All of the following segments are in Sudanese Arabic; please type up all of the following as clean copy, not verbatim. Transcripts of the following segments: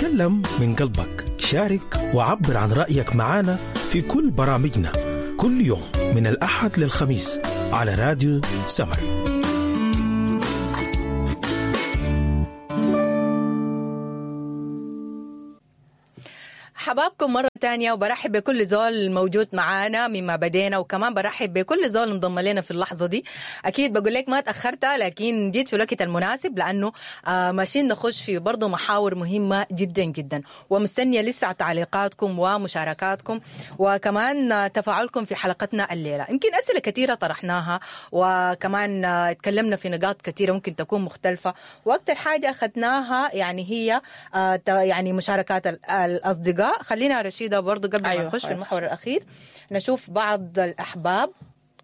اتكلم من قلبك، شارك وعبر عن رأيك معنا في كل برامجنا كل يوم من الأحد للخميس على راديو سمر. حبابكم مرة تانية، وبرحب بكل زول موجود معانا مما بدينا، وكمان برحب بكل زول انضم لنا في اللحظة دي. أكيد بقول لك ما تأخرت، لكن جيت في الوقت المناسب، لأنه ماشيين نخش في برضو محاور مهمة جدا جدا، ومستنية لسه تعليقاتكم ومشاركاتكم وكمان تفاعلكم في حلقتنا الليلة. يمكن أسئلة كثيرة طرحناها، وكمان اتكلمنا في نقاط كثيرة ممكن تكون مختلفة، وأكثر حاجة أخذناها يعني هي يعني مشاركات الأصدقاء. خلينا رشيدة برضو قبل ما نخش في المحور الأخير نشوف بعض الأحباب.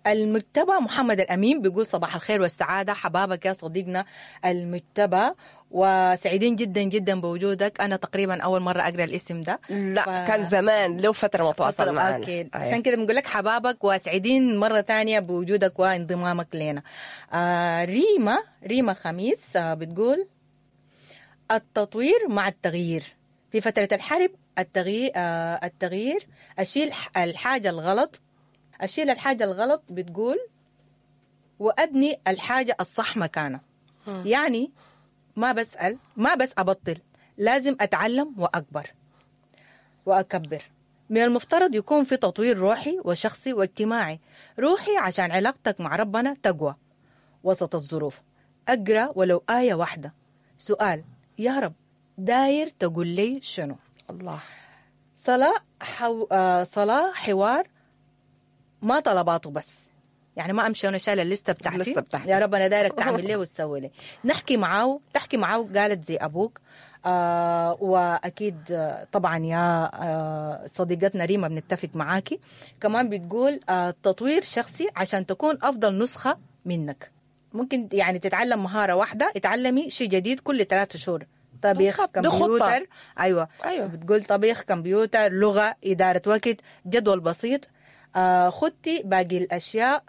المجتبى محمد الأمين بيقول صباح الخير والسعادة، حبابك يا صديقنا المجتبى، وسعيدين جدا جدا بوجودك. أنا تقريبا أول مرة أقرأ الاسم ده. لا كان زمان له فترة متواصل معنا. أكيد. أيوة. عشان كده بنقول لك حبابك وسعيدين مرة تانية بوجودك وانضمامك لنا. ريما خميس بتقول التطوير مع التغيير في فترة الحرب، التغيير أشيل الحاجة الغلط، بتقول وأبني الحاجة الصح مكانها. يعني ما بسأل، ما بس أبطل، لازم أتعلم وأكبر وأكبر. من المفترض يكون في تطوير روحي وشخصي واجتماعي. روحي عشان علاقتك مع ربنا تقوى وسط الظروف. أقرأ ولو آية واحدة. سؤال يا رب داير تقول لي شنو؟ الله. صلاة حوار، ما طلباته بس، يعني ما أمشي أنا شايلة الليستة بتاعتي يا رب أنا دايرك تعمل لي وتسوي لي. نحكي معاه، تحكي معاه، قالت زي أبوك. وأكيد طبعا يا صديقتنا ريما بنتفق معاكي. كمان بتقول تطوير شخصي عشان تكون أفضل نسخة منك. ممكن يعني تتعلم مهارة واحدة، اتعلمي شيء جديد كل 3 شهور. طبيخ، كمبيوتر، أيوة. بتقول طبيخ، كمبيوتر، لغة، إدارة وقت، جدول بسيط. خدتي باقي الأشياء،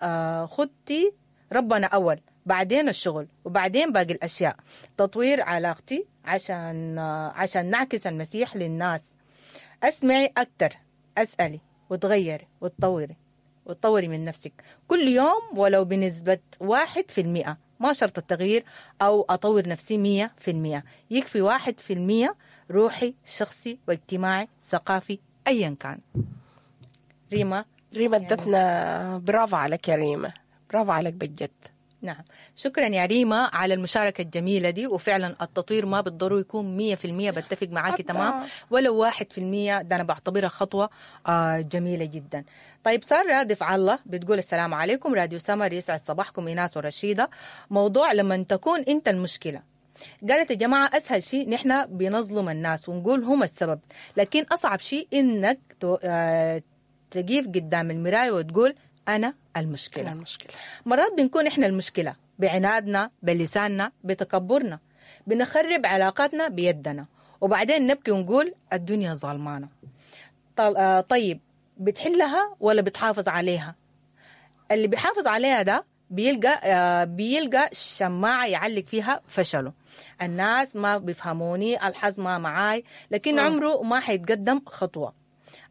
خدتي ربنا أول، بعدين الشغل، وبعدين باقي الأشياء. تطوير علاقتي عشان نعكس المسيح للناس. أسمعي أكتر، أسألي وتغيري وتطوري من نفسك كل يوم ولو بنسبة 1%. ما شرط التغيير أو أطور نفسي 100%، يكفي 1% روحي، شخصي، واجتماعي، ثقافي، أيا كان. ريما ادتنا برافو عليك يا ريما، برافو عليك بجد. نعم، شكرا يا ريما على المشاركة الجميلة دي. وفعلا التطوير ما بالضروري يكون 100%، بتفق معاكي تمام، ولو 1% ده أنا بعتبرها خطوة جميلة جدا. طيب سارة دفع الله بتقول السلام عليكم راديو سمر، يسعد صباحكم إيناس ورشيدة. موضوع لما تكون أنت المشكلة. قالت يا جماعة أسهل شيء نحن بنظلم الناس ونقول هم السبب، لكن أصعب شيء إنك تقف قدام المراية وتقول أنا المشكلة. مرات بنكون إحنا المشكلة بعنادنا، بلساننا، بتكبرنا، بنخرب علاقاتنا بيدنا، وبعدين نبكي ونقول الدنيا ظلمانة. طيب بتحلها ولا بتحافظ عليها؟ اللي بيحافظ عليها ده بيلقى شماعة يعلق فيها فشله. الناس ما بيفهموني، الحظ ما معاي، لكن عمره ما حيتقدم خطوة.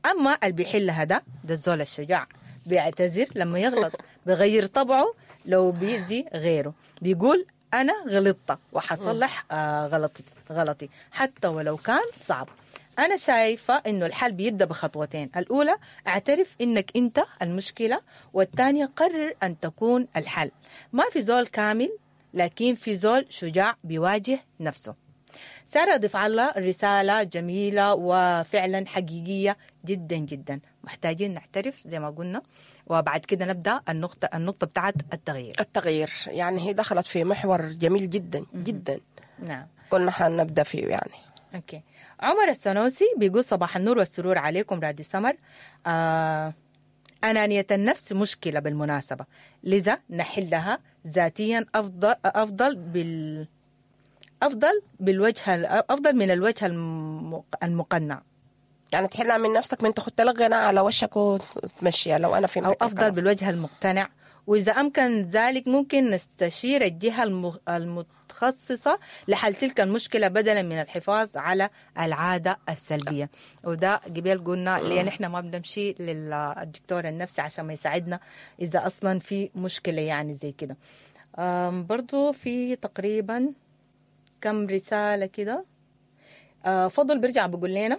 أما اللي بيحلها ده الزول الشجاع، بيعتذر لما يغلط، بغير طبعه لو بيأذي غيره، بيقول أنا غلطت وحصلح غلطي حتى ولو كان صعب. أنا شايفة إنه الحل بيبدأ بخطوتين، الأولى اعترف إنك أنت المشكلة، والثانية قرر أن تكون الحل. ما في زول كامل، لكن في زول شجاع بيواجه نفسه. سارة ضيف الله رسالة جميلة وفعلا حقيقية جدا جدا. محتاجين نعترف زي ما قلنا، وبعد كده نبدأ النقطة بتاعت التغيير. التغيير يعني هي دخلت في محور جميل جدا جدا. نعم، كنا حنبدأ فيه يعني. okay. عمر السنوسي بيقول صباح النور والسرور عليكم راديو سمر. أنانية النفس مشكلة بالمناسبة، لذا نحلها ذاتيا أفضل بالوجه، أفضل من الوجه المقنع. يعني تحلها من نفسك، من تاخد لك غناء على وشك وتمشيها. لو أنا فهمتك، أو أفضل بالوجه المقتنع وإذا أمكن ذلك ممكن نستشير الجهة المتخصصة لحل تلك المشكلة بدلا من الحفاظ على العادة السلبية. وده قبل قلنا ليه نحن ما بنمشي للدكتور النفسي عشان ما يساعدنا إذا أصلا في مشكلة يعني زي كده. برضو في تقريبا كم رسالة كده. فضل بيرجع بيقول لنا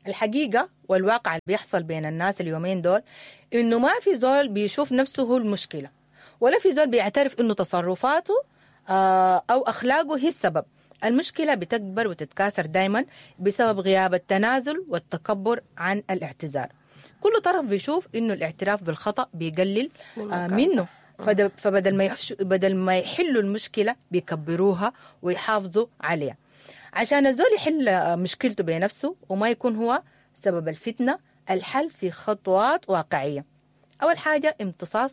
الحقيقة والواقع اللي بيحصل بين الناس اليومين دول إنه ما في زول بيشوف نفسه هو المشكلة، ولا في زول بيعترف إنه تصرفاته أو أخلاقه هي السبب. المشكلة بتكبر وتتكاثر دايما بسبب غياب التنازل والتكبر عن الاعتذار. كل طرف بيشوف إنه الاعتراف بالخطأ بيقلل منه، فبدل ما يحلوا المشكلة بيكبروها ويحافظوا عليها. عشان الزول يحل مشكلته بنفسه وما يكون هو سبب الفتنة، الحل في خطوات واقعية. أول حاجة امتصاص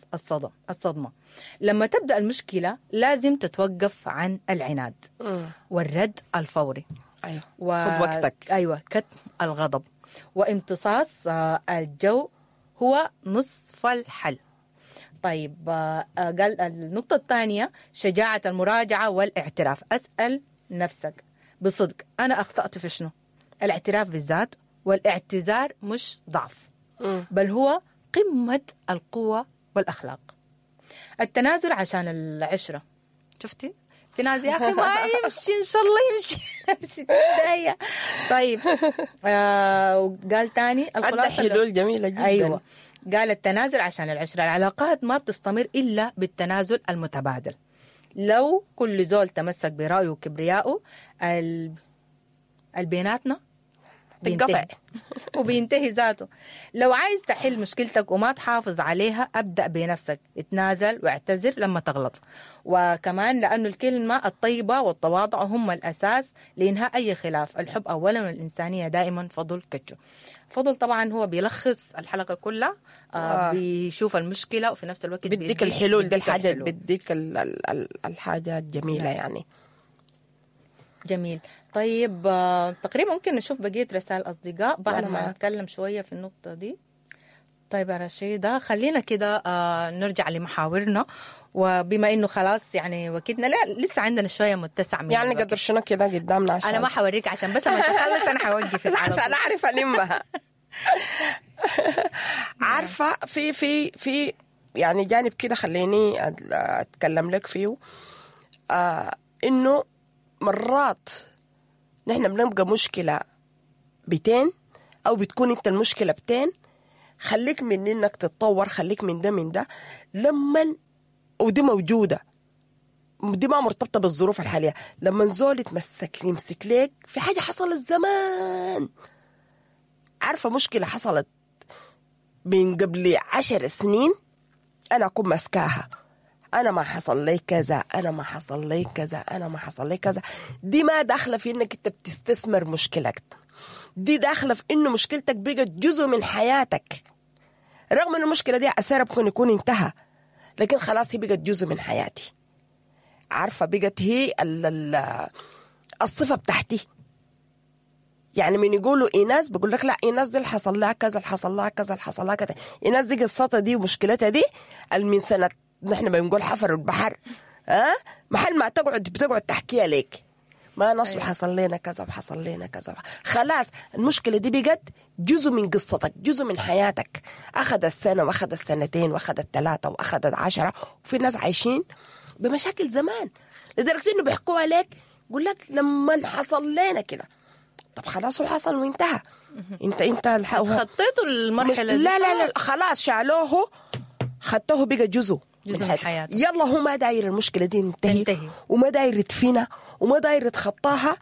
الصدمة. لما تبدأ المشكلة لازم تتوقف عن العناد والرد الفوري. أيوة. خد وقتك. أيوة، كتم الغضب وامتصاص الجو هو نصف الحل. طيب قال النقطة الثانية شجاعة المراجعة والاعتراف. أسأل نفسك بصدق أنا أخطأت في شنو؟ الاعتراف بالذات والاعتذار مش ضعف، بل هو قمة القوة والأخلاق. التنازل عشان العشرة. شفتي؟ تنازل يا أخي ما يمشي، إن شاء الله يمشي 60 دقيقة. طيب وقال تاني الخلاصة حلول جميلة جدا. أيوة، قال التنازل عشان العشرة. العلاقات ما بتستمر إلا بالتنازل المتبادل. لو كل زول تمسك برأيه وكبريائه البيناتنا بينتهي وبينتهي ذاته. لو عايز تحل مشكلتك وما تحافظ عليها أبدأ بنفسك، اتنازل واعتذر لما تغلط. وكمان لأنه الكلمة الطيبة والتواضع هم الأساس لإنهاء أي خلاف. الحب أولا والإنسانية دائما. فضل كتشو. فضل طبعا هو بيلخص الحلقة كلها، بيشوف المشكلة وفي نفس الوقت بيديك الحلول. دي الحاجة بيديك الحاجة الجميلة يعني. جميل. طيب تقريبا ممكن نشوف بقية رسائل أصدقاء بعد ما نتكلم شوية في النقطة دي. طيب يا رشيدة خلينا كده نرجع لمحاورنا، وبما إنه خلاص يعني وقتنا لا لسه عندنا شوية متسع من يعني قدر شنو كده قدامنا، عشان أنا ما حوريك عشان بس لما تخلص أنا حوقفك عشان أعرف ألمها. عارفة في في في يعني جانب كده خليني أتكلم لك فيه، إنه مرات نحن بنبقى مشكلة بتين أو بتكون أنت المشكلة بتين. خليك من إنك تتطور، خليك من ده من ده لما، ودي موجودة، دي ما مرتبطة بالظروف الحالية. لما زول يمسك لك في حاجة حصلت زمان، عارفة مشكلة حصلت من قبل 10 سنين أنا أكون مسكاها، أنا ما حصل لي كذا، أنا ما حصل لي كذا، أنا ما حصل لي كذا. دي ما داخلة في إنك أنت بتستثمر مشكلتك، دي داخلة في إنه مشكلتك بقت جزء من حياتك، رغم إنه المشكلة دي أثرها بكون يكون انتهى، لكن خلاص هي بقت جزء من حياتي. عارفة بقت هي الصفة بتاعتي. يعني من يقولوا إيناس بقول لك لا إيناس دي اللي حصل لها كذا، اللي حصل لها كذا، اللي حصل لها كذا. إيناس دي قصتها دي ومشكلتها دي من سنة نحن بنقول حفر البحر، محل ما تقعد بتقعد تحكيها لك، ما نص حصل لنا كذا وحصل لنا كذا. خلاص المشكلة دي بقت جزء من قصتك، جزء من حياتك. أخذ السنة وأخذ السنتين وأخذ 3 وأخذ 10، وفي ناس عايشين بمشاكل زمان لدرجة إنه بيحكوها لك، يقول لك لما حصل لنا كده. طب خلاص وحصل وانتهى. انت خطيتوا المرحلة دي؟ لا لا لا خلاص شالوه، خدته بقى جزء من حياته. يلا هو ما داير المشكلة دي تنتهي، وما داير يدفنها وما داير يتخطاها،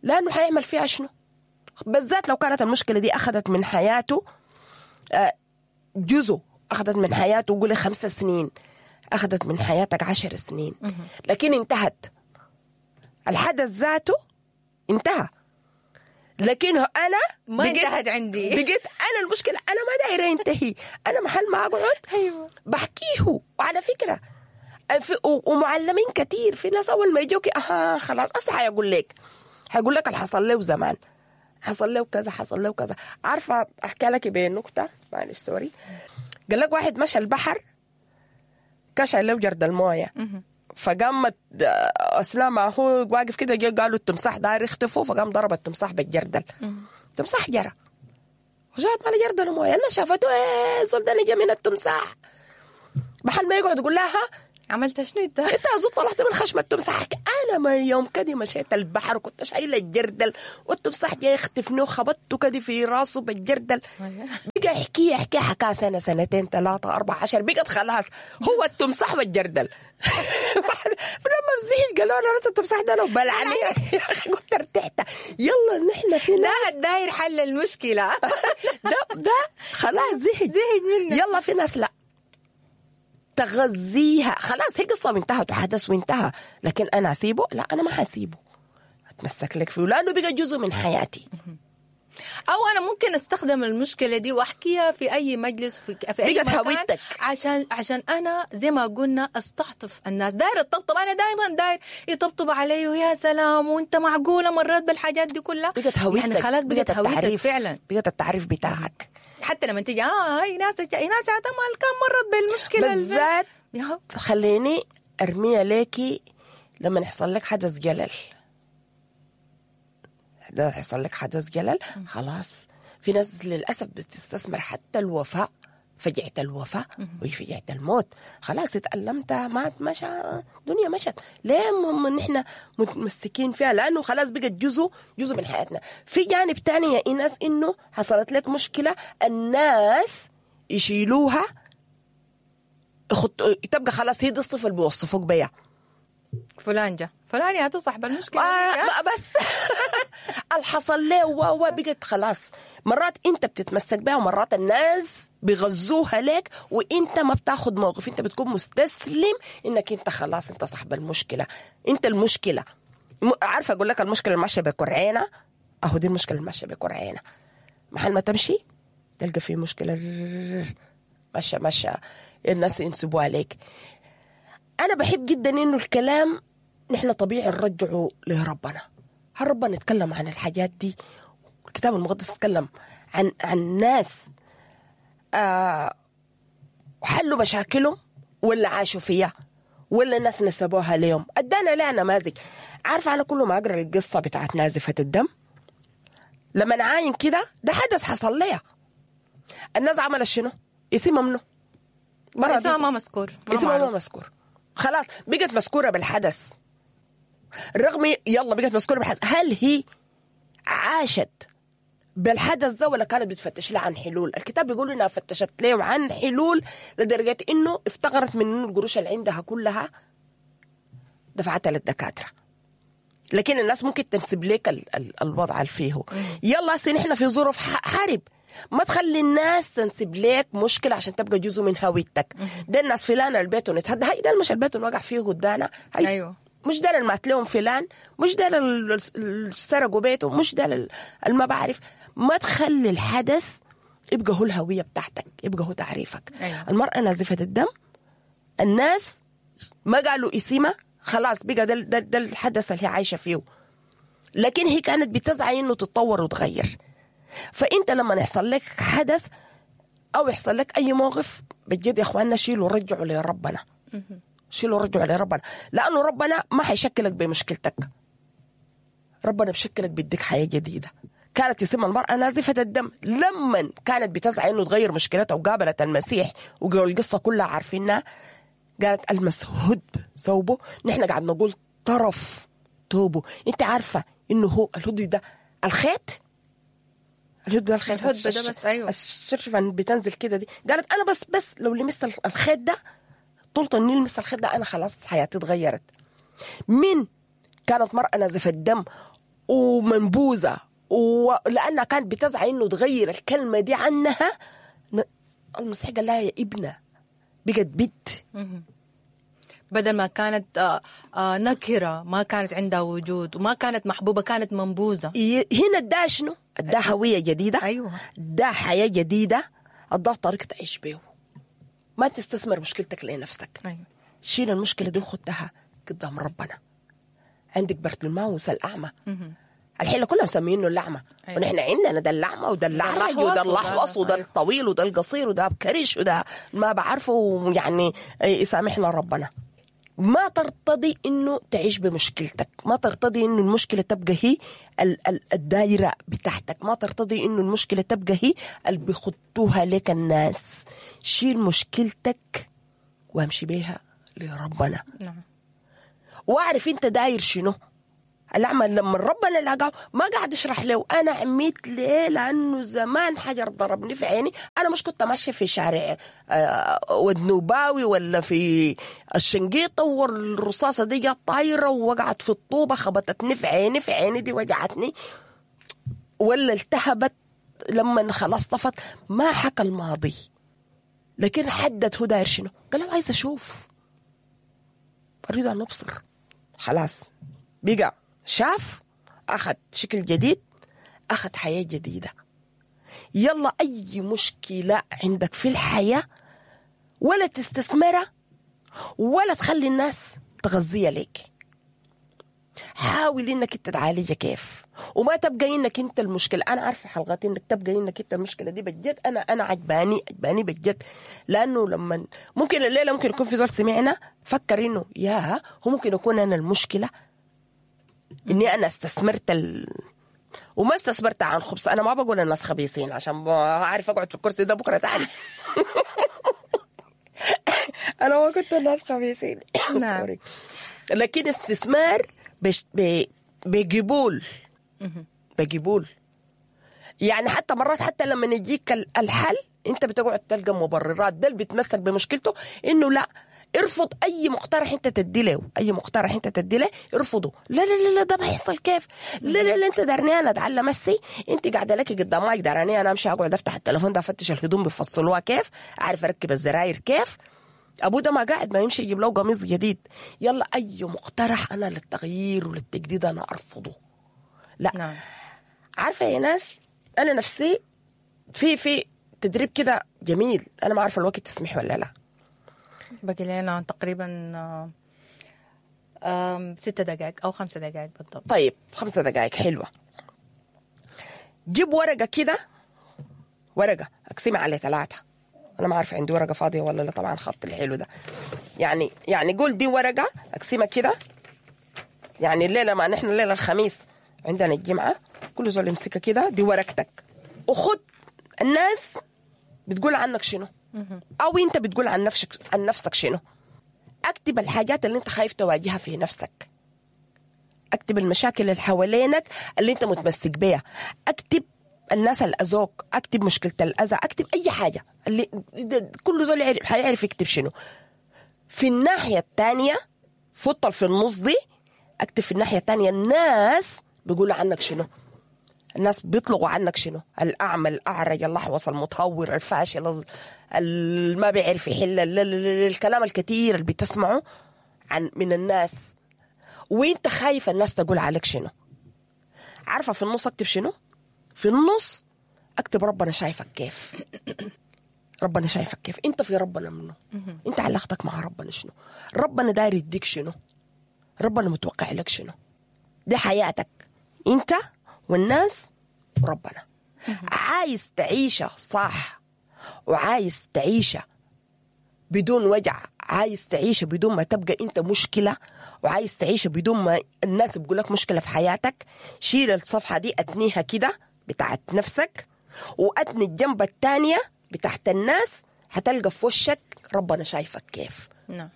لأنه حيعمل فيها شنو؟ بالذات لو كانت المشكلة دي أخذت من حياته جزء، أخذت من حياته قولي 5 سنين، أخذت من حياتك 10 سنين، لكن انتهت. الحدث ذاته انتهى، لكن أنا ما انتهت عندي. بقيت أنا المشكلة أنا ما دايرة ينتهي، أنا محل ما أقعد أيوة. بحكيه. وعلى فكرة ومعلمين كتير، في ناس أول ما يجوكي أها خلاص أصلا حيقول لك، حيقول لك اللي حصل له زمان، حصل له كذا، حصل له كذا. عارفة أحكي لك بنكتة، معلش سوري. قال لك واحد مشى البحر، كان شايل له جرد المويه، فقامت اثناء ما هو واقف كده جه قالوا التمساح داير يختفوا، فقام ضرب التمساح بالجردل. التمساح جرى وجاب مال جردل مويه. الناس شافته، ايه زول ده نجا من التمساح. محل ما يقعد يقول لها عملت شنو انت؟ انت زول طلعت من خشم التمساح. انا ما يوم كده مشيت البحر وكنت شايله الجردل والتمساح جاي يختفني وخبطته كده في راسه بالجردل. بقى يحكي يحكي حكاه سنة سنتين 3 4 10، بقت خلاص هو التمساح والجردل. فلما زهق قالوا انا راس التمساح ده لو بلعني يا اخي قلت ارتحت. يلا نحن في ناس ده الداير حل المشكلة. ده خلاص زهق منه. يلا في ناس لا تغذيها خلاص، هي قصة وانتهت وحدث وانتهى، لكن أنا أسيبه؟ لا أنا ما حسيبه، أتمسك لك فيه لأنه بقى جزء من حياتي. أو أنا ممكن أستخدم المشكلة دي وأحكيها في أي مجلس في أي مكان، هويتك. عشان أنا زي ما قلنا أستعطف الناس. داير الطبطب، أنا دايما داير يطبطب علي ويا سلام وأنت معقولة مرات بالحاجات دي كلها. بقت هويتك يعني خلاص بقت هويتك فعلا، بقت التعريف بتاعك. حتى لما تيجي هاي ناس ما كان مرت بالمشكلة بالذات. خليني أرميها ليكي لما يحصل لك حدث جلل، ده يحصل لك حدث جلل خلاص. في ناس للأسف بتستثمر حتى الوفاء، فجعة الوفاء وفجعة الموت. خلاص اتألمت، مات، مشى، الدنيا مشت. ليه نحن متمسكين فيها؟ لأنه خلاص بقت جزء من حياتنا. في جانب تاني يا إيناس، إنه حصلت لك مشكلة الناس يشيلوها تبقى خلاص هي دي الصفة اللي بيوصفوك بيها. فلان جا فلان يا صاحب المشكلة بس الحصل ليه بقت خلاص. مرات انت بتتمسك بها ومرات الناس بيغزوها لك وانت ما بتاخد موقف، انت بتكون مستسلم انك انت خلاص انت صاحب المشكلة، انت المشكلة. عارفة اقول لك المشكلة الماشية بكرعينة، اهو دي المشكلة الماشية بكرعينة. محل ما تمشي تلقى في مشكلة ماشية ماشية الناس ينسبوها لك. أنا بحب جدا إنه الكلام نحن طبيعي نرجعه لربنا. هل ربنا يتكلم عن الحاجات دي؟ الكتاب المقدس يتكلم عن ناس حلوا مشاكلهم ولا عاشوا فيها ولا الناس نسبوها ليهم. أدانا لها نماذج. عارفة أنا كل ما أقرأ القصة بتاعت نازفة الدم لما نعاين كده ده حدث حصل ليها، الناس عملت شنو؟ اسمها منه اسمها ما مذكور، اسمها ما مذكور، خلاص بقت مذكورة بالحدث. رغم يلا بقت مذكورة بالحدث، هل هي عاشت بالحدث ده ولا كانت بتفتش لها عن حلول؟ الكتاب بيقول انها فتشت له عن حلول لدرجة انه افتقرت من القروش اللي عندها كلها دفعتها للدكاترة. لكن الناس ممكن تنسب لك الوضع اللي فيه. يلا هسه نحن في ظروف حرب، ما تخلي الناس تنسب لك مشكلة عشان تبقى جزء من هويتك. ده الناس فلان البيت ونتهدى، هاي ده مش البيت وقع فيه قدانا، ايوه مش ده اللي مات لهم فلان، مش ده اللي سرقوا بيته، مش ده اللي ما بعرف. ما تخلي الحدث يبقى هو الهوية بتاعتك، يبقى هو تعريفك. أيوة. المرأة نازفة الدم، الناس ما قالوا اسمها، خلاص بقى ده الحدث اللي هي عايشة فيه، لكن هي كانت بتسعى انه تتطور وتغير. فانت لما يحصل لك حدث او يحصل لك اي موقف بجد يا اخواننا شيلوا رجعوا لربنا، شيلوا رجعوا لربنا، لانه ربنا ما حيشكلك بمشكلتك، ربنا بشكلك بيديك حياة جديدة. كانت يسمى المرأة نازفة الدم لما كانت بتسعى انه تغير مشكلتها وقابلت المسيح والقصة كلها عارفينها، قالت المس هدب ثوبه، نحن قاعد نقول طرف ثوبه. انت عارفة انه هو الهدب ده الخيط، الهدب ده الخيط، الهدب ده بس ايوه الشرشفة بتنزل كده دي. قالت انا بس لو لمست الخيط ده، طولت اني لمست الخيط ده انا خلاص حياتي اتغيرت. من كانت مرأة نازفة الدم ومنبوذة، ولأنها كانت بتسعى إنه تغير الكلمة دي عنها، المسيح قال لها يا ابنة، بقت بنت. بدل ما كانت نكرة، ما كانت عندها وجود وما كانت محبوبة، كانت منبوذة. هنا اداها شنو؟ اداها هوية جديدة، أيوة. اداها حياة جديدة، اداها طريقة تعيش بيه. ما تستثمر مشكلتك لنفسك، أيوة. شيل المشكلة دي وخدها قدام ربنا. عندك برتلماوس الأعمى، الحلة كلها مسمينه الاعمى. أيوة. ونحن عندنا ده الاعمى وده الاعرج وده الاحوص وده الطويل وده القصير وده بكرش وده ما بعرفه، يعني يسامحنا ربنا. ما ترتضي انه تعيش بمشكلتك، ما ترتضي انه المشكلة تبقى هي الدايرة بتاعتك، ما ترتضي انه المشكلة تبقى هي اللي بيخطوها لك الناس. شيل مشكلتك وامشي بيها لربنا. نعم. واعرف انت داير شنو. الأعمى لما ربنا لقاه ما قاعد يشرح له أنا عميت ليه، لأنه زمان حجر ضربني في عيني، أنا مش كنت ماشية في شارع ودنوباوي ولا في الشنقيطة والرصاصة دي جت طايرة ووقعت في الطوبة خبطتني في عيني، في عيني دي وجعتني ولا التهبت لما خلاص طفت. ما حكى الماضي، لكن حدد هو داير شنو. قال له عايز أشوف، أريد أن أبصر. خلاص بقى شاف، أخذ شكل جديد، أخذ حياة جديدة. يلا أي مشكلة عندك في الحياة ولا تستثمرها ولا تخلي الناس تغذيها لك. حاول إنك أنت تعالجها كيف، وما تبقى إنك أنت المشكلة. أنا عارفة حلقاتي إنك تبقى إنك أنت المشكلة دي بجد. أنا عجباني بجد، لأنه لما ممكن الليلة ممكن يكون في زول سمعنا فكر إنه يا هو ممكن يكون أنا المشكلة، إني أنا استثمرت وما استثمرت عن خبز. أنا ما بقول الناس خبيثين عشان أعرف أقعد في الكرسي ده بكرة تاني. أنا ما كنت الناس خبيثين. نعم. لكن استثمار بقبول، بقبول. يعني حتى مرات حتى لما يجيك الحل أنت بتقعد تلقى مبررات. ده اللي بيتمسك بمشكلته إنه لا، ارفض اي مقترح انت تدي له، اي مقترح انت تدي له ارفضه. لا لا لا لا ده ما يحصل كيف، لا لا لا انت دارني انا اتعلم السي، انت قاعدة لك قدامك دارني انا امشي اقعد افتح التليفون ده افتش الهدوم بيفصلوها كيف، اعرف اركب الزراير كيف، ابو ده ما قاعد ما يمشي يجيب له قميص جديد. يلا اي مقترح انا للتغيير وللتجديد انا ارفضه. لا. نعم. عارفه يا ناس، انا نفسي في تدريب كده جميل، انا ما عارفه الوقت تسمح ولا لا. باقي لنا تقريبا 6 دقائق أو 5 دقائق بالضبط. طيب 5 دقائق حلوة. جيب ورقة كده، ورقة أقسمها على 3. أنا ما عارفة عندي ورقة فاضية ولا لا، طبعا خط الحلو ده. يعني قول دي ورقة أقسمها كده. يعني الليلة ما نحن الليلة الخميس عندنا الجمعة، كل زول يمسكها كده، دي ورقتك. وخد الناس بتقول عنك شنو، أو أنت بتقول عن نفسك شنو. أكتب الحاجات اللي أنت خايف تواجهها في نفسك، أكتب المشاكل اللي حوالينك اللي أنت متمسك بيها، أكتب الناس اللي أذوك، أكتب مشكلة الأذى، أكتب أي حاجة اللي كل زول حيعرف يكتب شنو. في الناحية الثانية فطل في النص دي، أكتب في الناحية الثانية الناس بيقولوا عنك شنو، الناس بيطلقوا عنك شنو، الأعمى، الأعرج، اللحوص، المتهور، الفاشل، اللي ما بيعرف يحل، الكلام الكثير اللي بتسمعه عن من الناس، وانت خايف الناس تقول عليك شنو. عارفة في النص اكتب شنو؟ في النص اكتب ربنا شايفك كيف. ربنا شايفك كيف، انت في ربنا منه، انت علاقتك مع ربنا شنو، ربنا داير يديك شنو، ربنا متوقع لك شنو. دي حياتك انت والناس وربنا. عايز تعيشة صح، وعايز تعيشة بدون وجع، عايز تعيشة بدون ما تبقى انت مشكلة، وعايز تعيشة بدون ما الناس بيقولك مشكلة في حياتك. شيل الصفحة دي، اتنيها كده بتاعت نفسك، واتني الجنب التانية بتاعت الناس، هتلقى في وشك ربنا شايفك كيف. نعم.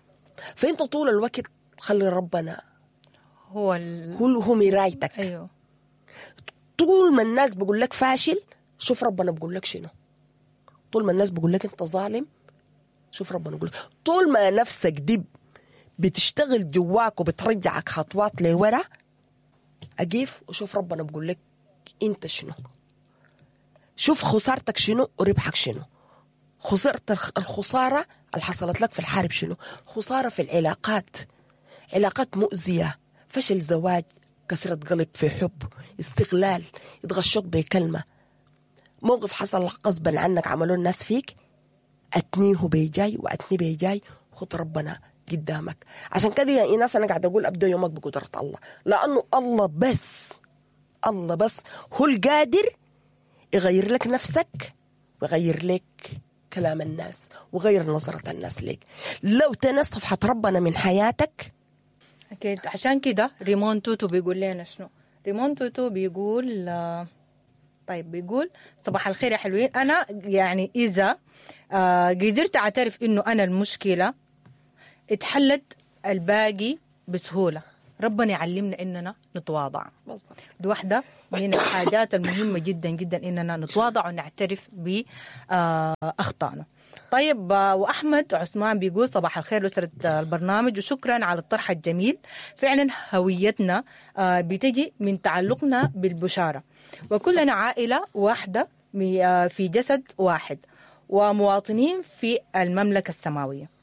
فانت طول الوقت خلي ربنا هو هو مرايتك. ايوه. طول ما الناس بيقول لك فاشل، شوف ربنا بيقول لك شنو. طول ما الناس بيقول لك انت ظالم، شوف ربنا بيقول لك. طول ما نفسك دي بتشتغل جواك وبترجعك خطوات لورا، اقف وشوف ربنا بيقول لك انت شنو. شوف خسارتك شنو وربحك شنو. خسرت الخسارة اللي حصلت لك في الحرب شنو، خسارة في العلاقات، علاقات مؤذية، فشل زواج، كسرة قلب في حب، استغلال، يتغشوك بكلمة، موقف حصل غصبا عنك عملوه الناس فيك، أتنيه بيجاي وأتني بيجاي. خد ربنا قدامك. عشان كده يا إيناس أنا قاعدة أقول أبدأ يومك بقدرة الله، لأنه الله بس، الله بس هو القادر يغير لك نفسك ويغير لك كلام الناس وغير نظرة الناس لك. لو تنست صفحة ربنا من حياتك. أكيد. عشان كده ريمون توتو بيقول لنا شنو؟ ريمون توتو بيقول طيب، بيقول صباح الخير يا حلوين. أنا يعني إذا قدرت أعترف إنه أنا المشكلة اتحلت الباقي بسهولة. ربنا يعلمنا إننا نتواضع. بالضبط. دي واحدة من الحاجات المهمة جدا جدا، إننا نتواضع ونعترف بأخطائنا. طيب، وأحمد عثمان بيقول صباح الخير لأسرة البرنامج وشكرا على الطرح الجميل. فعلا هويتنا بتجي من تعلقنا بالبشارة، وكلنا عائلة واحدة في جسد واحد ومواطنين في المملكة السماوية.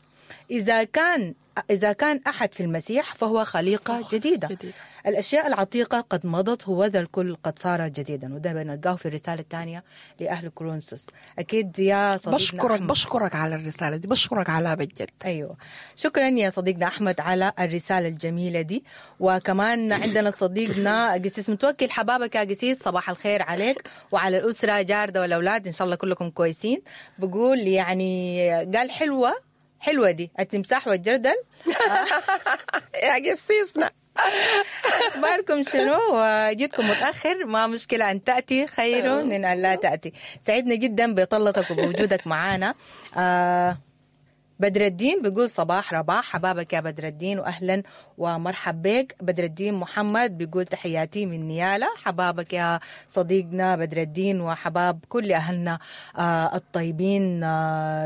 إذا كان أحد في المسيح فهو خليقة جديدة. الأشياء العتيقة قد مضت، هو ذا الكل قد صار جديدا. وده بنلقاه في الرسالة الثانية لأهل كورنثوس. أكيد يا صديقنا بشكرك أحمد. بشكرك على الرسالة دي، بشكرك على بجد. أيوة، شكرا يا صديقنا أحمد على الرسالة الجميلة دي. وكمان عندنا صديقنا قسيس متوكل. حبابك يا قسيس، صباح الخير عليك وعلى الأسرة جاردة والأولاد، إن شاء الله كلكم كويسين. بقول يعني قال حلوة حلوة دي التمساح والجردل. يا قسيسنا أخباركم شنو؟ وجيتكم متأخر، ما مشكلة، أن تأتي خير من أن لا تأتي. سعدنا جدا بطلتك وبوجودك معانا. بدر الدين بيقول صباح رباح. حبابك يا بدر الدين وأهلا ومرحب بك. بدر الدين محمد بيقول تحياتي من نيالا. حبابك يا صديقنا بدر الدين وحباب كل أهلنا الطيبين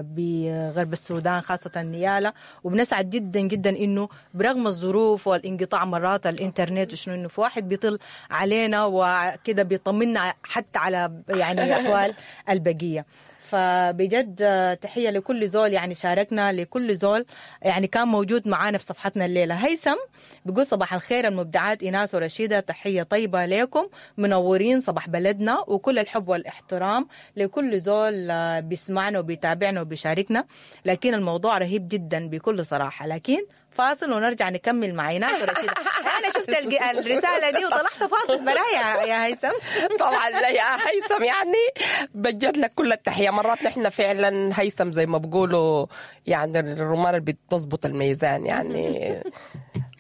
بغرب السودان خاصة نيالا. وبنسعد جدا جدا إنه برغم الظروف والانقطاع مرات الإنترنت وشنو، إنه في واحد بيطل علينا وكده بيطمنا حتى على يعني أحوال البقية. فبجد تحية لكل زول يعني شاركنا، لكل زول يعني كان موجود معانا في صفحتنا الليلة. هيثم بيقول صباح الخير المبدعات إيناس ورشيدة، تحية طيبة لكم، منورين صباح بلدنا، وكل الحب والاحترام لكل زول بيسمعنا وبيتابعنا وبيشاركنا. لكن الموضوع رهيب جدا بكل صراحة، لكن فاصل ونرجع نكمل مع إيناس ورشيدة. أنا شفت الرسالة دي وطلعت فاصل برايا يا هيثم. طبعا لا يا هيثم، يعني بجد لك كل التحية. مرات نحن فعلا هيثم زي ما بقولوا يعني الرمان اللي بتظبط الميزان، يعني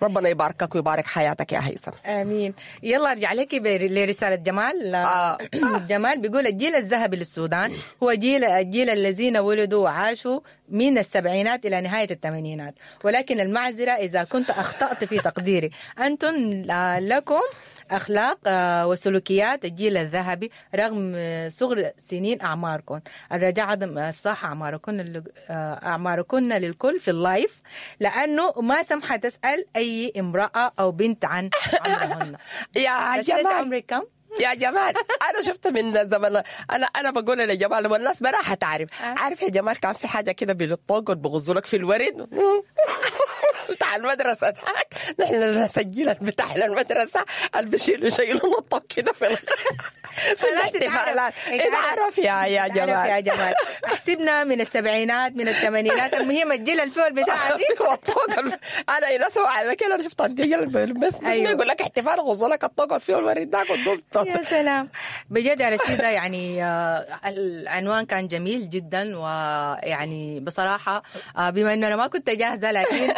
ربنا يباركك ويبارك حياتك يا هيثم. آمين. يلا ارجع لك لرسالة جمال. جمال بيقول الجيل الذهبي للسودان هو الجيل الذين ولدوا وعاشوا من السبعينات إلى نهاية الثمانينات، ولكن المعذرة إذا كنت أخطأت في تقديري. أنتم لكم أخلاق وسلوكيات الجيل الذهبي رغم صغر سنين أعماركم. الرجاء عدم إفصاح أعماركن للكل في ال live، لأنه ما سمحة تسأل أي امرأة أو بنت عن عمرهن. يا جمال، عمرك كم؟ يا جمال انا شفت من زمان، انا بقول لجمال والناس براحة تعرف. عارف يا جمال كان في حاجة كده بالطوق بغزوا لك في الورد بتاع المدرسة ذاك، نحن نسجل بتاع المدرسة اللي بيشيلوا شيلوا الطوق كده في الاحتفالات. اتعرف يا جمال، يا جمال احسبنا من السبعينات من الثمانينات، المهم الجيل الفول بتاعتي والطوق. انا ينسوا على كده، انا شفت الجيل بس يقول لك احتفال غزوا لك الطوق فيه الورد ذاك. يا سلام بجد يا رشيدة، يعني العنوان كان جميل جدا، ويعني بصراحة بما أنه أنا ما كنت جاهزة، لكن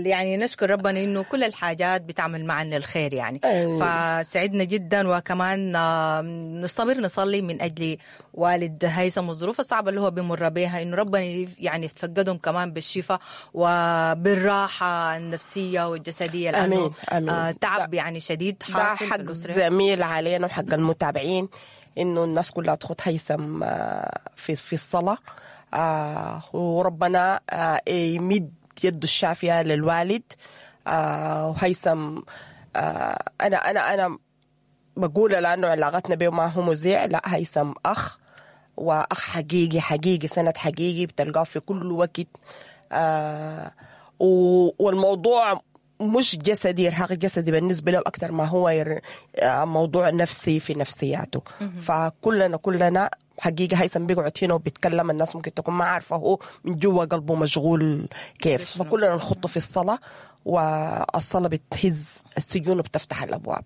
يعني نشكر ربنا إنه كل الحاجات بتعمل معنا الخير يعني. فسعدنا جدا، وكمان نصبر نصلي من أجل والد هيثم والظروف الصعبة اللي هو بيمر بها، إنه ربنا يعني يتفقدهم كمان بالشفاء وبالراحة النفسية والجسدية، لأنه آمين. تعب يعني شديد حاصل. ده حق زميل علينا وحق المتابعين إنه الناس كلها تخط هيثم في الصلاة، وربنا يمد يده الشافية للوالد. وهيثم أنا أنا أنا بقول لأنه علاقتنا به ما هو مذيع، لا هيثم أخ، وأخ حقيقي حقيقي، سند حقيقي بتلقاه في كل وقت. والموضوع مش جسدي، إرهاق جسدي بالنسبة له أكثر ما هو موضوع نفسي في نفسياته. فكلنا حقيقة هيثم بيقعد هنا وبيتكلم، الناس ممكن تكون ما عارفة هو من جوا قلبه مشغول كيف. فكلنا نخطه في الصلاة، والصلاة بتهز السجون وبتفتح الأبواب.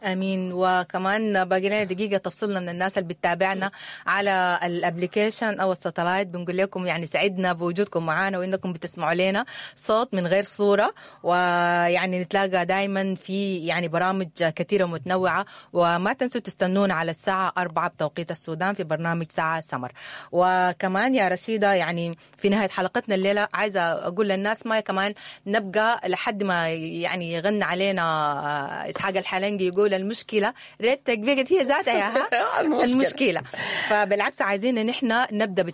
امين. وكمان باقي لنا دقيقة تفصلنا من الناس اللي بتتابعنا على ال application او ال satellite، بنقول لكم يعني سعدنا بوجودكم معنا وانكم بتسمعوا لنا صوت من غير صوره، ويعني نتلاقى دائما في يعني برامج كثيرة ومتنوعة، وما تنسوا تستنونا على الساعة 4 بتوقيت السودان في برنامج ساعة سمر. وكمان يا رشيده يعني في نهاية حلقتنا الليلة عايزه اقول للناس ما كمان نبقى لحد ما يعني يغنى علينا اسحاق الحلنقي يقول المشكلة ريتك بقت هي ذاتها يا ها المشكلة. المشكلة. فبالعكس عايزين ان احنا نبدا.